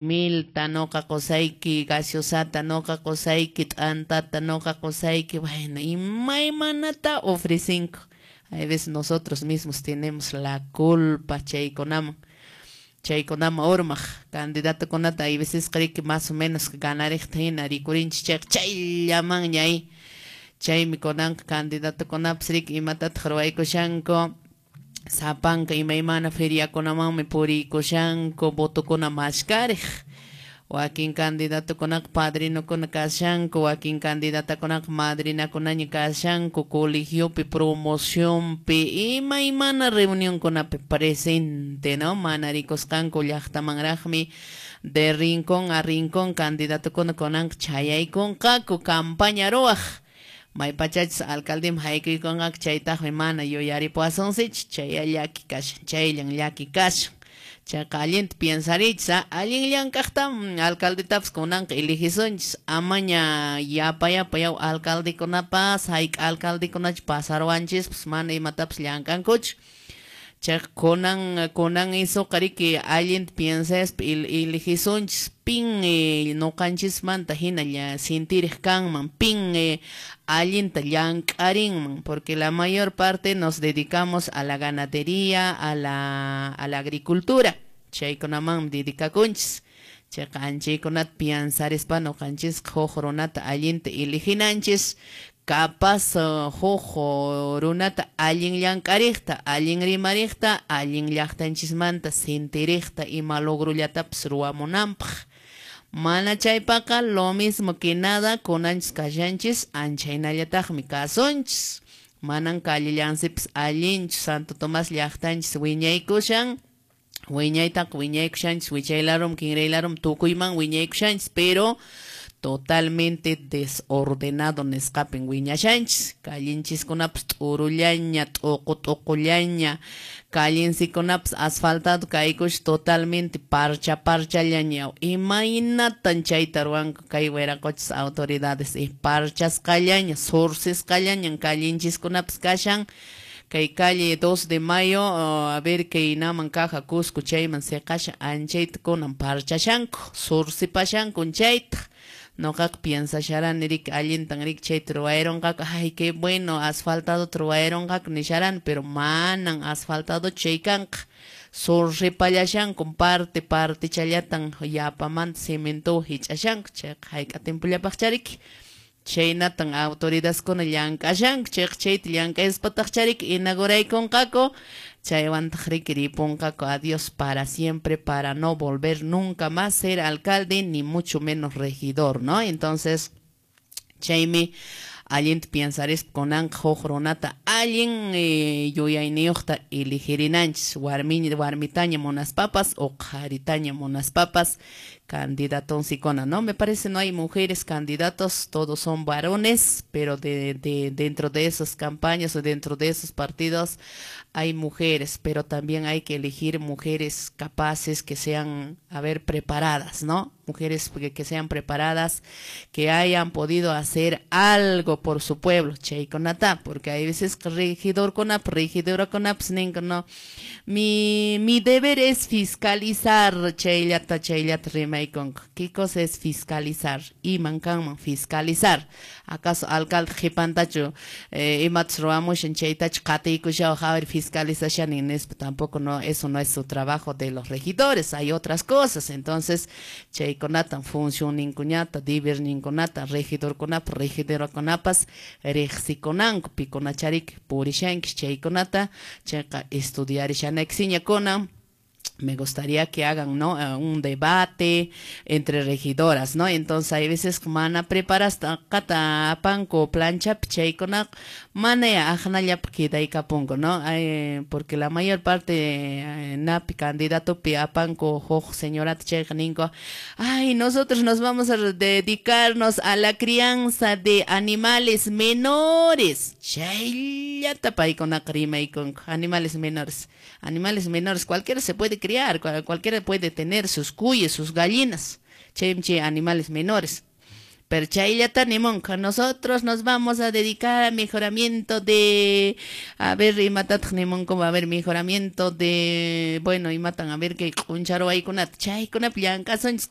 Milta, noqa qusayki gaseosata, noqa qusayki t'antata, noqa qusayki, bueno, imaymanata ofrecenku. Hay veces nosotros mismos tenemos la culpa chaykunaman. Chaykunaman urmaq candidatokunata hay veces riki más o menos ganariqta hina rikurinchik chayqa chayllamanña ay. Chaymi kunanqa candidatokunapas riki imatataq ruwaykushanku. Sapanka imaymana feriakunamanmi puriykushanku votokuna mashkariq. Wakin candidatokunaqa padrinokuna kashanku, wakin candidatakunaqa madrinakunaña kashanku, colegiopi, promocionpi, imaymana reunionkunapi presente, ¿no? Mana rikusqanku llaqtamanraqmi de rincón a rincón candidatokuna kunanqa chayaykunqaku campaña ruwaq. Maypachachus alcaldeman haykuykunqaku chaytaqmi mana yuyaripuwasunsichu, chaya llaki kashan, chayllan llaki kashan. Chayqa allinta piensarichis, allin llank'aqtam alcaldetapas kunanqa eligisunchis, amaña yapa yapa yaw alcaldekunapas, hayk'a alcaldekunachu pasaruwanchispas mana imatapas llank'ankuchu. Chayqa kunan kunan isuqa riki allinta piensaspa eligisunchis pin ñuqanchismanta hina sintiriq kanman, pin allinta llank'arinman, porque la mayor parte nos dedicamos a la ganadería, a la agricultura, chaykunamanmi dedicakunchis. Chayqa anchaykunata piensarispa ñuqanchisqa huk runata allinta eliginanchis, capaz huk runata allin llank'ariqta, allin rimariqta, allin llaqtanchismanta sintiriqta ima logrullatapas ruwamunanpaq. Mana chaypaqa lo mismo que nada kunanchis kashanchis anchaynallataqmi kasunchis. Manan callellansipas allinchu Santo Tomás llaqtanchis wiñaykushan, wiñaytaqa wiñaykushanchis wichay larum kinray larum tukuyman wiñaykushanchis, pero totalmente desordenado nisqapin wiñashanchis. Callenchiskunapas t'urullaña, t'uqu t'uqullaña, callencikunapas asfaltado kaykush totalmente parcha parchallaña. Imaynatan chayta ruwanku kay wiraqochis autoridades? Parchasqallaña, surcisqallañan callenchiskunapas kashan. Kay calle 2 de Mayo, a ver kay naman kaja Cusco chayman seqashan anchayta kunan parchashanku, surcipashanku chayta. Noqaqa piensasharani riki allintan riki chayta ruwayronqaku, ay qué bueno asfaltado ruwayronqaku nisharani, pero manan asfaltado chay kanqa. Surripallashanku parte partechallatan yapamanta cemento hich'ashanku, chayqa hayk'a tiempollapaqcha riki. Chaynatan autoridadkuna llank'ashanku, chayqa chayta llank'aspataqcha riki inauguraykunqaku, chaywantaq riki ripunqaku adiós para siempre, para no volver nunca más ser alcalde ni mucho menos regidor, ¿no? Entonces, chaymi allinta piensarispa kunanqa huk runata allin yuyayniyuqta eligirinanchis, warmi warmitaña munaspapas o qharitaña munaspapas candidatonsikuna, ¿no? Me parece no hay mujeres candidatos, todos son varones, pero de dentro de esas campañas o dentro de esos partidos hay mujeres, pero también hay que elegir mujeres capaces que sean, a ver, preparadas, ¿no? Mujeres que sean preparadas, que hayan podido hacer algo por su pueblo, chaykunata, porque hay veces regidor regidora ninko, no, mi deber es fiscalizar, chayllata, chayllata rimaykunku. ¿Qué cosa es fiscalizar? Iman kanman fiscalizar. ¿Acaso alcalde qhipantachu imatas ruwamushan chaytachu qatiykushawaq a ver fiscalizashani nispa? Tampoco no, eso no es su trabajo de los regidores, hay otras cosas. Entonces, chaykunatan funcionninkuñata, deberninkunata, regidorkunapa, regidorakunapas riqsikunanku, pikunachariki purishankish chaykunata, chayqa estudiarishanaykisiña kunan. Me gustaría que hagan, ¿no?, un debate entre regidoras, ¿no? Entonces, hay veces mana preparasqata apanku planchapi chaykunaqa mana aqnallapi quedaykapunku, ¿no? Porque la mayor parte napi candidatopi apanku huk señorata chayqa ninku, ay, nosotros nos vamos a dedicarnos a la crianza de animales menores. Chayllata paykunaqa rimaykunku, animales menores. Animales menores, cualquiera se puede criar, cualquiera puede tener sus cuyes, sus gallinas, chaymi chay animales menores. Pero chayllata nimunqa, nosotros nos vamos a dedicar a mejoramiento de, a ver, imatataq nimunku, a ver, mejoramiento de, bueno, imatan, a ver, kay q'uncharuwaykunata, chaykunapi llank'asunchis.